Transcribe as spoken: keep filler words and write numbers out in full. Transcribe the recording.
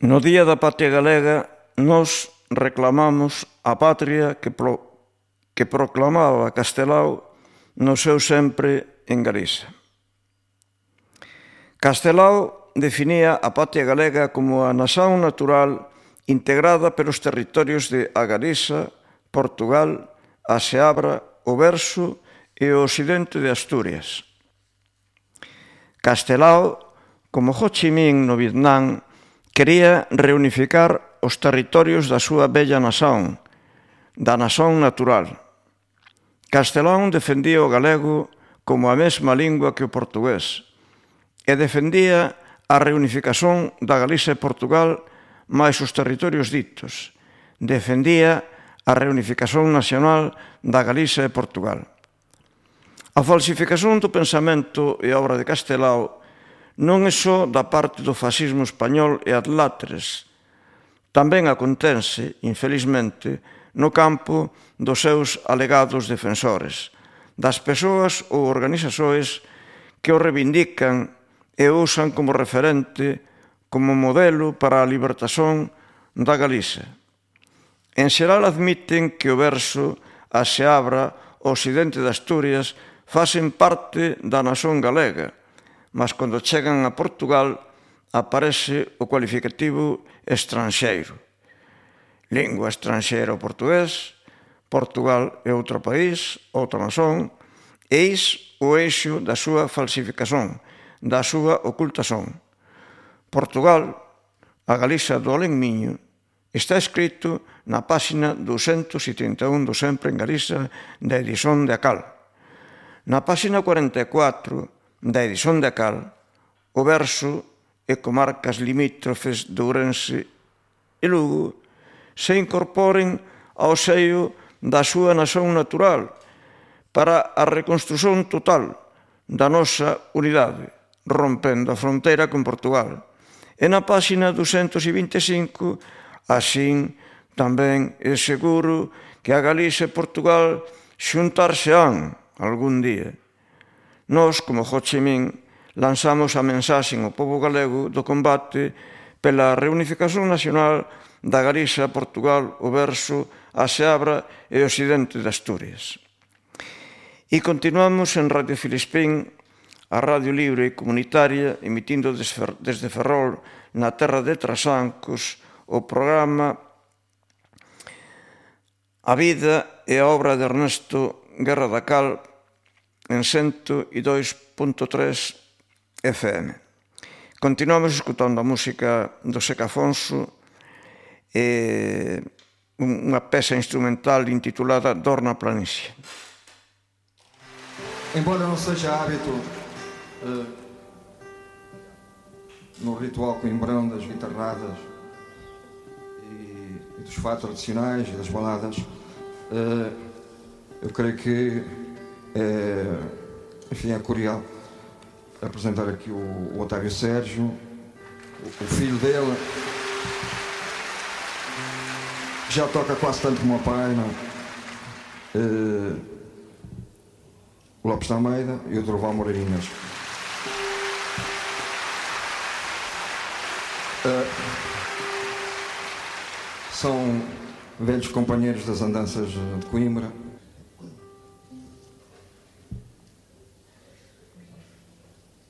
No Día da Patria Galega nos reclamamos a patria que, pro, que proclamaba Castelao no seu sempre en Galiza. Castelao definía a patria galega como a nación natural integrada pelos territorios de a Galiza, Portugal, a Seabra, o Verso e o occidente de Asturias. Castelao, como Ho Chi Minh no Vietnam, quería reunificar os territorios da súa bella nación, da nación natural. Castelao defendía o galego como a mesma lingua que o portugués e defendía a reunificación da Galiza e Portugal máis os territorios ditos. Defendía a reunificación nacional da Galiza e Portugal. A falsificación do pensamento e obra de Castelao non é só da parte do fascismo español e adláteres. Tamén acontece, infelizmente, no campo dos seus alegados defensores, das persoas ou organizações que o reivindican e o usan como referente, como modelo para a libertación da Galiza. En xeral admiten que o Verso, a Seabra, o occidente de Asturias facen parte da nación galega, mas cando chegan a Portugal aparece o cualificativo estranxeiro. Lingua estranxeira o portugués, Portugal é outro país, outra nación, eis o eixo da súa falsificación, da súa ocultación. Portugal, a Galiza do Alén-Miño, está escrito na páxina duzentos trinta e un do Sempre en Galiza da edición de Acal. Na páxina cuarenta e catro da edición de Acal, o Verso e comarcas limítrofes de Ourense e Lugo se incorporen ao seio da súa nación natural para a reconstrución total da nosa unidade, rompendo a fronteira con Portugal. E na páxina duzentos vinte e cinco, así tamén é seguro que a Galiza e Portugal xuntarse-án algún día. Nós, como Ho Chi Minh, lanzamos a mensaxe ao pobo galego do combate pela reunificación nacional da Galiza, Portugal, o Verso, a Seabra e o occidente de Asturias. E continuamos en Radio Filispín, a radio libre e comunitaria, emitindo desde Ferrol, na terra de Trasancos, o programa A vida e a obra de Ernesto Guerra da Cal, en cento e dois punto tres F M. Continuamos escutando a música do Seca Afonso e unha peza instrumental intitulada Dor na Planície. Embora não seja hábito uh, no ritual coimbrão das guitarradas e, e dos fatos tradicionais e das baladas, uh, eu creio que é, enfim, é curioso apresentar aqui o, o Otávio Sérgio, o, o filho dele, que já toca quase tanto como o pai, não? Uh, o Lopes da Almeida e o Durval Moreirinhas. Uh, são velhos companheiros das andanças de Coimbra.